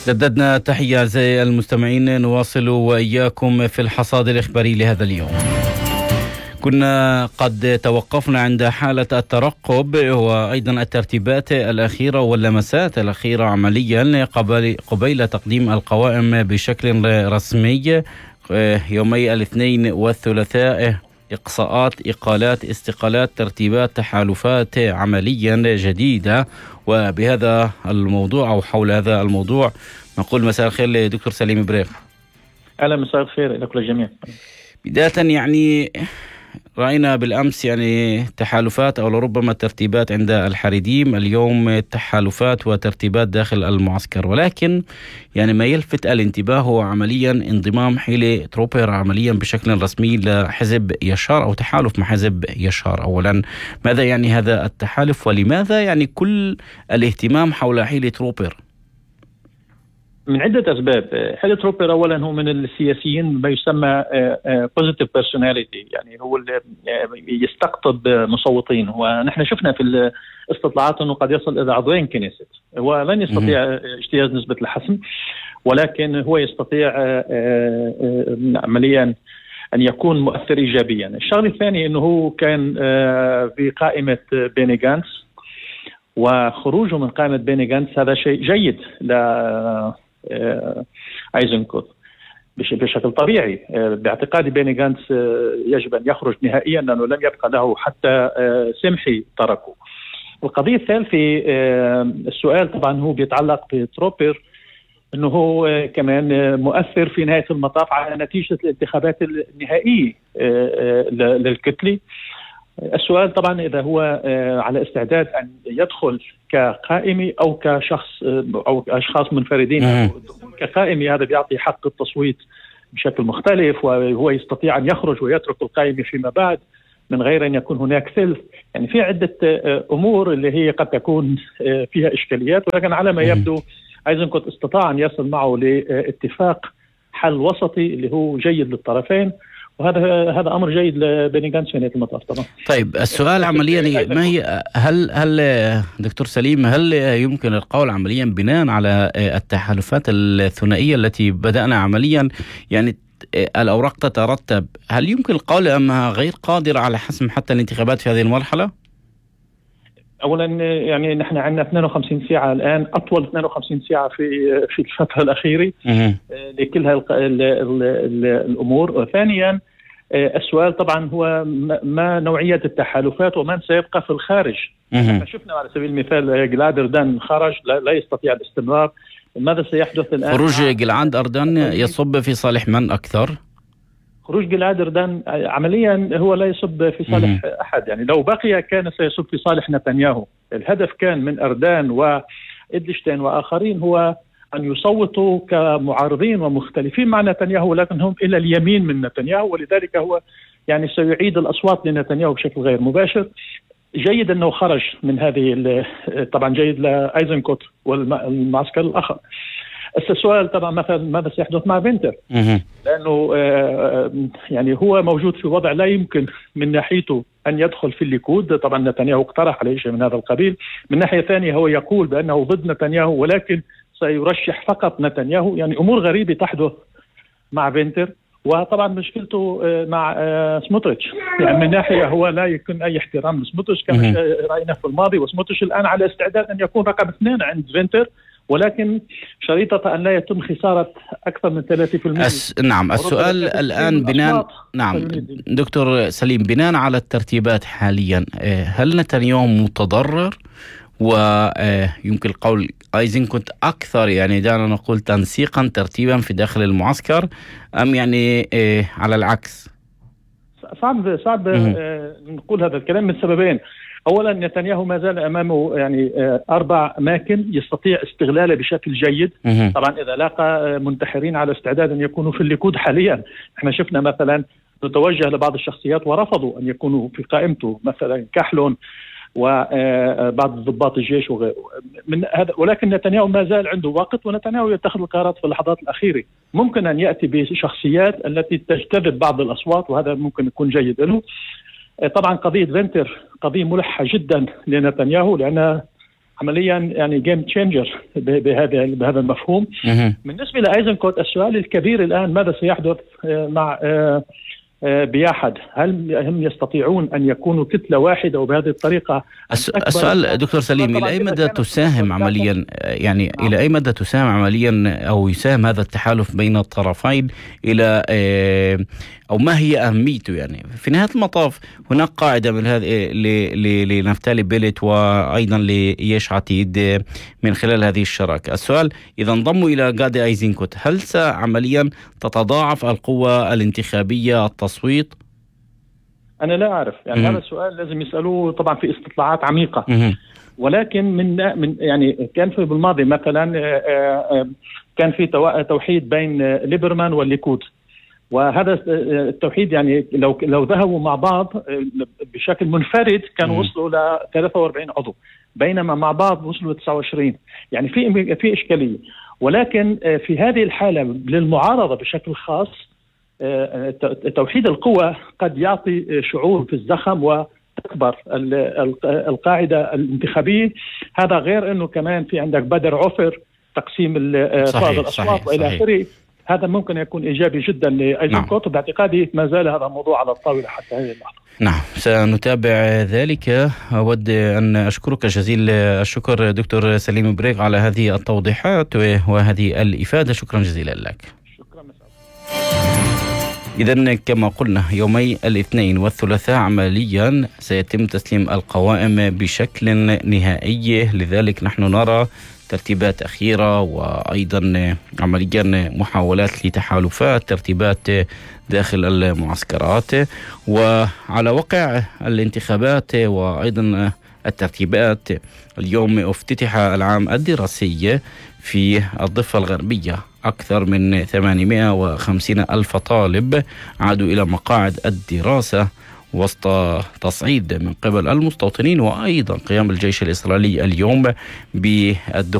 جددنا تحية أعزائي المستمعين، نواصل وإياكم في الحصاد الإخباري لهذا اليوم. كنا قد توقفنا عند حالة الترقب وأيضا الترتيبات الأخيرة واللمسات الأخيرة عمليا قبيل تقديم القوائم بشكل رسمي يومي الاثنين والثلاثاء. إقصاءات، إقالات، استقالات، ترتيبات، تحالفات عمليا جديدة. وبهذا الموضوع أو حول هذا الموضوع نقول مساء الخير لدكتور سليم بريق. أهلا، مساء الخير لكل الجميع. بداية يعني رأينا بالأمس يعني تحالفات أو لربما ترتيبات عند الحريديم، اليوم تحالفات وترتيبات داخل المعسكر، ولكن يعني ما يلفت الانتباه هو عمليا انضمام حيلي تروبير عمليا بشكل رسمي لحزب يشار أو تحالف مع حزب يشار. أولا ماذا يعني هذا التحالف، ولماذا يعني كل الاهتمام حول حيلي تروبير؟ من عدة أسباب. حيلي تروبير أولا هو من السياسيين ما يسمى positive personality، يعني هو اللي يستقطب مصوتين، ونحن شفنا في الاستطلاعات أنه قد يصل إلى عضوين كنيست. هو لن يستطيع اجتياز نسبة الحسم، ولكن هو يستطيع عمليا أن يكون مؤثر إيجابيا. الشغله الثانية أنه هو كان في قائمة بيني جانتس، وخروجه من قائمة بيني جانتس هذا شيء جيد ايزنكوت بشكل طبيعي. باعتقادي بيني جانتس يجب أن يخرج نهائيا، لأنه لم يبقى له حتى سمحي تركه. القضية الثالثة، السؤال طبعا هو بيتعلق بتروبير، أنه هو كمان مؤثر في نهاية المطاف على نتيجة الانتخابات النهائية للكتلة. السؤال طبعا إذا هو على استعداد أن يدخل كقائمي أو كشخص أو أشخاص منفردين. كقائمي هذا بيعطي حق التصويت بشكل مختلف، وهو يستطيع أن يخرج ويترك القائمة فيما بعد من غير أن يكون هناك ثلث. يعني في عدة أمور اللي هي قد تكون فيها إشكاليات، ولكن على ما يبدو ايزنكوت استطاع أن يصل معه لاتفاق حل وسطي اللي هو جيد للطرفين، وهذا امر جيد لبيني جانتس في نهاية المطاف طبعا. طيب السؤال عمليا ما هي هل دكتور سليم هل يمكن القول عمليا بناء على التحالفات الثنائية التي بدأنا عمليا يعني الأوراق تترتب، هل يمكن القول أنها غير قادرة على حسم حتى الانتخابات في هذه المرحلة؟ اولا يعني نحن عندنا 52 ساعه الان، اطول 52 ساعه في الفتره الاخيره لكل الامور. ثانيا السؤال طبعا هو ما نوعيه التحالفات ومن سيبقى في الخارج. شفنا على سبيل المثال جلاد أردن خرج، لا يستطيع الاستمرار. ماذا سيحدث الان؟ خروج جلاد أردن يصب في صالح من اكثر؟ خروج جلاد أردن عمليا هو لا يصب في صالح أحد، يعني لو بقي كان سيصب في صالح نتنياهو. الهدف كان من أردن وإدلشتين وآخرين هو أن يصوتوا كمعارضين ومختلفين مع نتنياهو، ولكن هم إلى اليمين من نتنياهو، ولذلك هو يعني سيعيد الأصوات لنتنياهو بشكل غير مباشر. جيد أنه خرج من هذه، طبعا جيد لأيزنكوت والمعسكر الآخر. السؤال طبعا مثلا ماذا سيحدث مع فينتر، لأنه يعني هو موجود في وضع لا يمكن من ناحيته أن يدخل في الليكود. طبعا نتنياهو اقترح عليه شيء من هذا القبيل. من ناحية ثانية هو يقول بأنه ضد نتنياهو، ولكن سيرشح فقط نتنياهو. يعني أمور غريبة تحدث مع فينتر. وطبعا مشكلته مع سموتريتش، يعني من ناحية هو لا يكون أي احترام لسموتريتش كما رأينا في الماضي، وسموتريتش الآن على استعداد أن يكون رقم 2 عند فينتر، ولكن شريطة أن لا يتم خسارة أكثر من 30%. نعم، السؤل الآن بناء دكتور سليم بناء على الترتيبات حاليا، هل نتنياهو متضرر ويمكن القول ايزنكوت أكثر يعني دعنا نقول تنسيقا ترتيبا في داخل المعسكر، أم يعني على العكس؟ صعب نقول هذا الكلام من سببين. أولا نتنياهو ما زال أمامه يعني 4 أماكن يستطيع استغلاله بشكل جيد. طبعا إذا لاقى منتحرين على استعداد أن يكونوا في الليكود حاليا. احنا شفنا مثلا نتوجه لبعض الشخصيات ورفضوا أن يكونوا في قائمته، مثلا كحلون وبعض ضباط الجيش وغيره من هذا. ولكن نتنياهو ما زال عنده وقت، ونتنياهو يتخذ القرارات في اللحظات الأخيرة. ممكن أن يأتي بشخصيات التي تجتذب بعض الأصوات، وهذا ممكن يكون جيد له. طبعا قضية فينتر قضية ملحة جدا لنتنياهو، لأن عمليا يعني جيم تشينجر بهذا المفهوم. بالنسبة لأيزنكوت، السؤال الكبير الآن ماذا سيحدث مع بياحد؟ هل هم يستطيعون أن يكونوا كتلة واحدة وبهذه الطريقة؟ السؤال دكتور سليم، إلى أي مدى تساهم عمليا، يعني إلى أي مدى تساهم عمليا أو يساهم هذا التحالف بين الطرفين إلى أو ما هي أهميته؟ يعني في نهاية المطاف هناك قاعدة من هذه لنفتالي بيلت وأيضا ليش عتيد من خلال هذه الشراكة. السؤال، إذا انضموا إلى غادي أيزنكوت هل عمليا تتضاعف القوة الانتخابية التصويت؟ أنا لا أعرف، يعني هذا السؤال لازم يسألوه طبعا في استطلاعات عميقة. ولكن من يعني كان في بالماضي مثلا كان في توحيد بين ليبرمان والليكود، وهذا التوحيد يعني لو ذهبوا مع بعض بشكل منفرد كانوا وصلوا ل 43 عضو، بينما مع بعض وصلوا ل 29. يعني في إشكالية. ولكن في هذه الحالة للمعارضة بشكل خاص توحيد القوى قد يعطي شعور في الزخم وتكبر القاعدة الانتخابية. هذا غير أنه كمان في عندك بدر عفر، تقسيم الأصوات وإلى آخره. هذا ممكن يكون إيجابي جدا لأيزنكوت، وباعتقادي ما زال هذا الموضوع على الطاولة حتى هذه اللحظة. نعم، سنتابع ذلك. أود أن أشكرك جزيل الشكر دكتور سليم بريغ على هذه التوضيحات وهذه الإفادة. شكرا جزيلا لك. شكرا. إذن كما قلنا يومي الاثنين والثلاثاء عمليا سيتم تسليم القوائم بشكل نهائي، لذلك نحن نرى ترتيبات أخيرة وأيضا عمليا محاولات لتحالفات ترتيبات داخل المعسكرات. وعلى وقع الانتخابات وأيضا الترتيبات، اليوم افتتح العام الدراسي في الضفة الغربية. أكثر من 850 ألف طالب عادوا إلى مقاعد الدراسة وسط تصعيد من قبل المستوطنين وأيضا قيام الجيش الإسرائيلي اليوم بالدخول